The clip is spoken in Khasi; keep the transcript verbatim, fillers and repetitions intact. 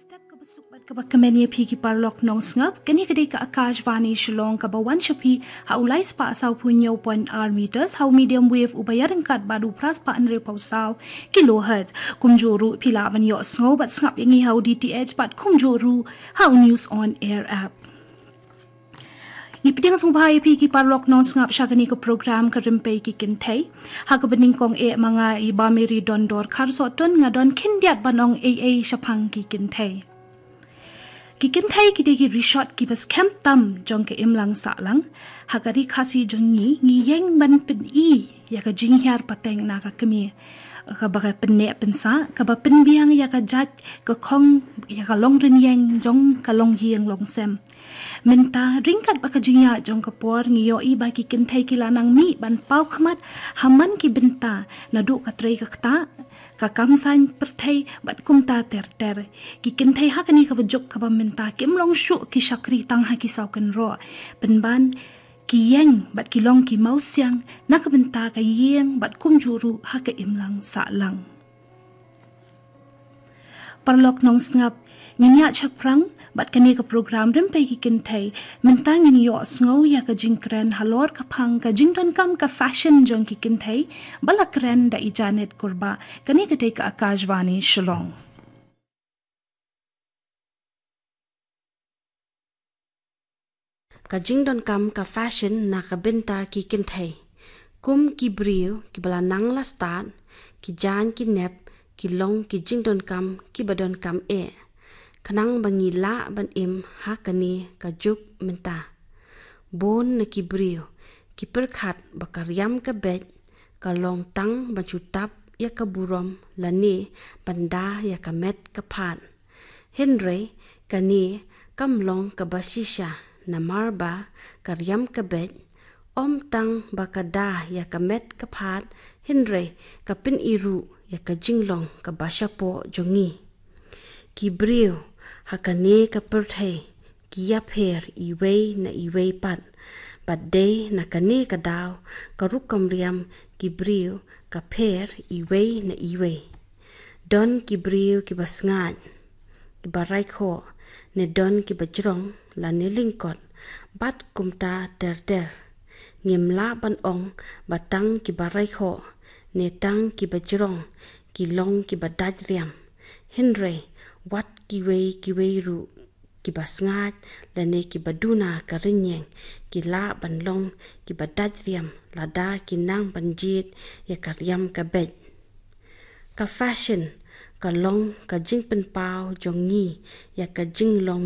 Step kaba suk bad kaba kmen ïa phi ki paralok nongsngap, kane ka dei ka Akashvani Shillong kaba wan sha phi ha u lai spah saw phew hynñiew point ar meters, ha u medium wave uba ïaryngkat bad u phra spah hynriew phew saw kilohertz. Kumjuh ruh phi lah ban ïohsngew bad sngap ïa ngi ha u D T H bad kumjuh ruh ha u News on Air app. Ngi pdiang sngewbha ïa phi ki paralok nongsngap sha kane ka program Ka Rympei ki Kynthei. Ha kaba nyngkong eh ma nga i Bah Mary Dondor Kharsohton, nga don khyndiat ban ong ei ei shaphang ki kynthei. Ki kynthei ki dei ki rishot kiba skhem tam jong ka imlang sahlang. Ha ka Ri Khasi jong ngi, ngi ïeng ban pyni ïa ka jinghiar pateng na ka kmie, kaba ka pynneh pynsah, kaba pynbiang ïa ka jait ka khong, ïa ka long rynïeng jong ka long ïing long sem. Mynta, ryngkat bad ka jingïaid jong ka por, ngi ïohi ba ki kynthei ki la nang mih ban paw khmat ha man ki bynta, naduh ka trei ka ktah, ka kam saiñ pyrthei bad kumta ter ter. Ki kynthei ha kane kaba juk kaba mynta kim long shuh ki shakri tang ha ki saw kynroh, pynban ki ïeng bad ki long ki mawsiang na ka bynta ka ïing bad kumjuh ruh ha ka imlang sahlang. Paralok nongsngap, ngin ïaid shaphrang bad kane ka program Rympei ki Kynthei. Mynta ngin ïohsngew ïa ka jingkren halor ka phang ka jingdonkam ka fashion jong ki kynthei, ba la kren da i Janet Kurbah. Kane ka dei ka Akashvani Shillong. Ka jingdonkam ka fashion na ka bynta ki kynthei. Kum ki briew kiba la nang la stad, ki jaiñ ki nep ki long ki jingdonkam kiba donkam eh, khnang ba ngi lah ban im ha kane ka juk mynta. Bun na ki briew ki pyrkhat ba ka riam ka beit ka long tang ban shu tap ïa ka burom lane ban da ïa ka met ka phad. Hynrei kane kam long kaba shisha, namar ba ka riam ka beit ym tang ba ka da ïa ka met ka phad, hynrei ka pyni ruh ïa ka jinglong kaba shapoh jong ngi. Ki briew ha kane ka pyrthei ki ïapher iwei na iwei pat, bad dei na kane ka daw ka rukom riam ki briew ka pher iwei na iwei. Don ki briew kiba sngaid, kiba raikhoh, ne don kiba jrong lane lyngkot, bad kumta ter ter. Ngim lah ban ong ba tang kiba raikhoh ne tang kiba jrong ki long kiba dait riam. Hynrei wat kiwei kiwei ruh, kiba sngaid lane kiba duna ka rynïeng, ki lah ban long kiba dait riam lada ki nang ban jied ïa ka riam ka beit. Ka fashion ka long ka jingpynpaw jong ngi ïa ka jinglong